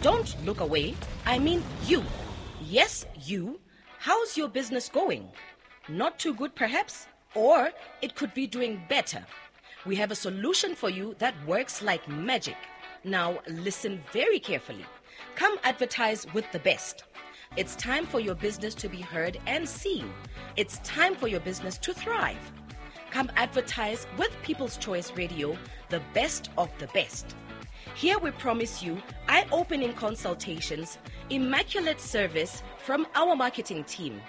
Don't look away. I mean you. Yes, you. How's your business going? Not too good, perhaps? Or it could be doing better. We have a solution for you that works like magic. Now, listen very carefully. Come advertise with the best. It's time for your business to be heard and seen. It's time for your business to thrive. Come advertise with People's Choice Radio, the best of the best. Here we promise you eye opening consultations, immaculate service from our marketing team.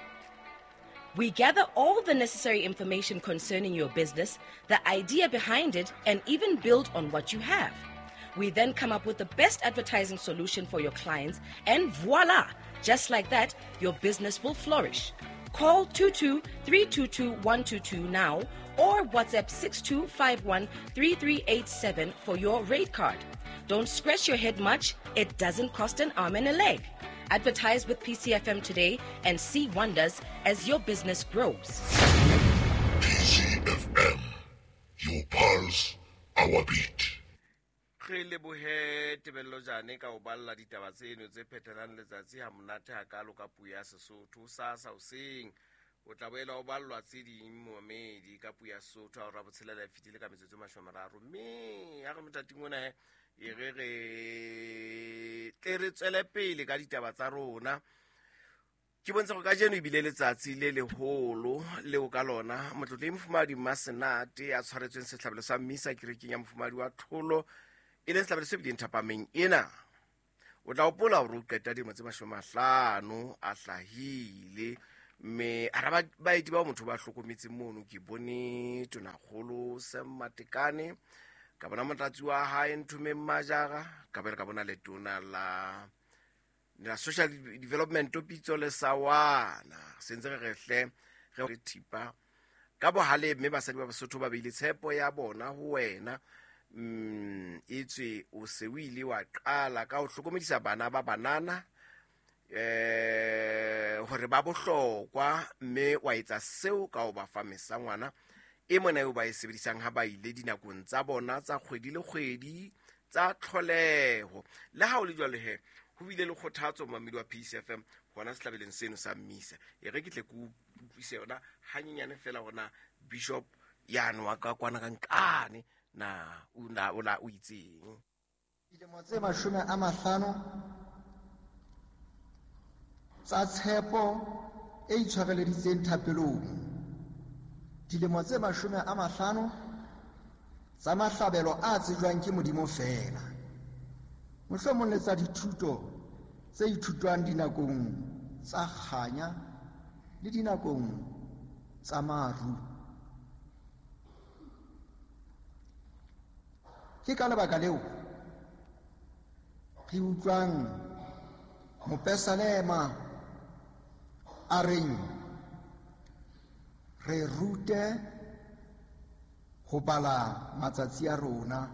We gather all the necessary information concerning your business, the idea behind it, and even build on what you have. We then come up with the best advertising solution for your clients, and voila! Just like that, your business will flourish. Call 22 322 122 now or WhatsApp 6251 3387 for your rate card. Don't scratch your head much, it doesn't cost an arm and a leg. Advertise with PCFM today and see wonders as your business grows. PCFM, your pulse, our beat. Re lebohe Tebello Jane ka ho balla ditaba tseno tse phethelang letsatsi ha monate hakalo ka puo ya Sesotho. Sasa hoseng o tla boela o ballwa tse ding momedi ka puo ya Sesotho ha hora botshelela e fetile ka metsotso e 30. Mme ha re mothating ona he e re re tle re tswele pele ka ditaba tsa rona. Ke bontsha gore kajeno ebile letsatsi le leholo leo ka lona motlotlehi Mofumahadi Mmasenate a tshwaretsweng sehlabelo sa mmisa kerekeng ya Mofumahadi wa Tlholo, e leng sehlabelo se bileng thapameng ena. O tla hopola hore o qeta dilemo tse 50 a hlahile, mme hara baeti bao motho ba hlokometseng mono ke bone Tonakgolo Sam Matekane, ka bona motlatsi wa hae Nthomeng Majara, ka boela ka bona letona la social development Pitso le Sawana. Se ntse re re hle re thipa ka bohale, mme basadi ba Basotho ba beile tshepo ya bona ho wena. Etswe o se o ile wa qala ka ho hlokomedisa bana ba banana hore ba bohlokwa, mme wa etsa seo ka ho ba fa mesangwana e mona eo ba e sebedisang ha ba ile dinakong tsa bona tsa kgwedi le kgwedi tsa tlholeho. Le ha ho le jwalo he, ho bile le kgothatso momamedi wa PCFM hona sehlabelong seno sa mmisa. E re ke tle ke utlwise yona hanyenyane fela hona Bishop yane wa ka kwana ka nkane na o na o la o itseng. Dilemo tse 50 tsa tshepo e itshwareleditseng thapelong. Dilemo tse 50 tsa mahlabelo a tsejwang ke Modimo feela. Mohlomong le tsa dithuto tse ithutwang dinakong tsa kganya le dinakong tsa maru. Ke ka lebaka leo re utlwang mopesalema a reng re rute ho bala matsatsi a rona,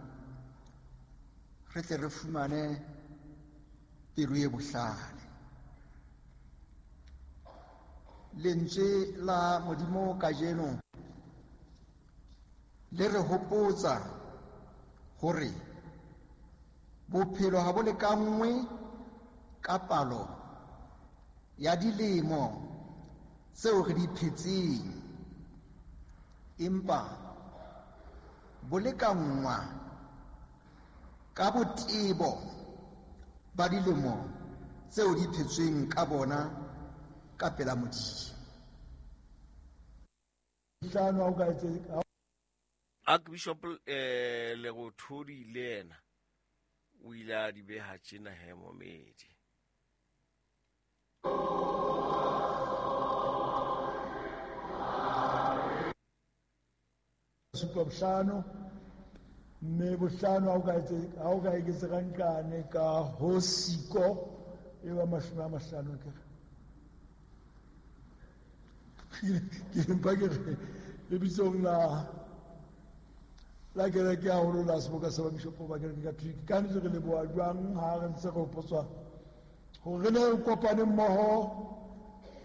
re tle re fumane pelo e bohlale. Lentswe la Modimo kajeno le re hopotsa hore bophelo ha bo lekanngwe ka palo ya dilemo tseo re di phetseng, empa bo lekanngwa ka botebo ba dilemo tseo di phetsweng ka bona ka pela Modimo. Archbishop Lerothodi le yena o ile a di beha tjena he momedi. Supa bohlano, mme bohlano ha o ka eketsa ka nqane ka ho siko e ba 50 ke re. Ke mpa ke re lebitsong la kereke haholo la seboka sa babishopo ba kereke Katolike. Ka nnete re leboha jwang ha re ntse re hopotswa hore re ne re kopane mmoho,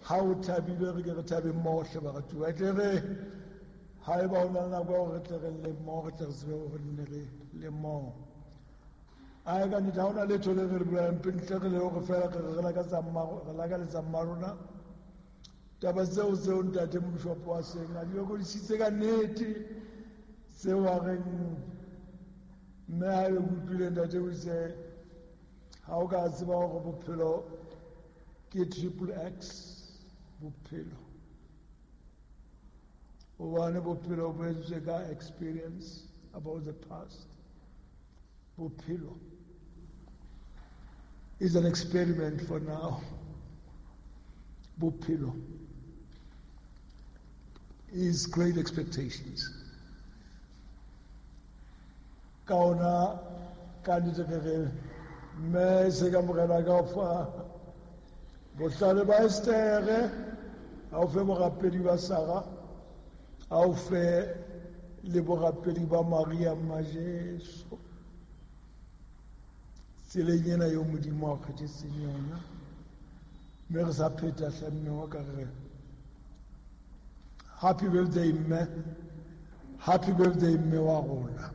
ha o thabile re ke re thabe mmoho hle baratuwa. E tle re ha eba ho na le nako ya hore re tle re lle mmoho, re tle re tsebe hore re nne re le mmoho. Ae ka nnete, ha hona letho le re le buang ntle re le hore feela re lakaletsa mma rona. Taba tseo ntate mobishopo wa seng a di lokodisitse ka nnete, tseo a reng mme ha ebe ke utlwile ntate o itse ha o ka tseba hore bophelo ke triple X bophelo, hobane bophelo bo entswe ka experience about the past. Bophelo is an experiment for now. Bophelo is great expectations. Ka ona ka nnete re re mme se ka morena ka fa bohlale ba Estere, a o fe borapedi ba Sara, a o fe le borapedi ba Maria mma Jesu. Tseleng ena eo Modimo a kgethetseng yona, mme re sa pheta hle mme wa ka re happy birthday mme, happy birthday mme wa rona.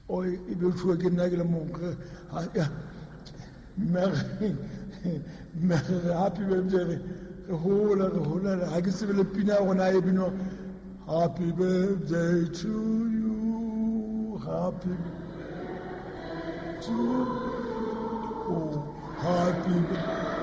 O e be tjhuwe ke nna ke le mong, mme re happy birthday, re hola, re hola, ha ke tsebe le pina ya rona e binwa happy birthday to you, happy to you, happy birthday.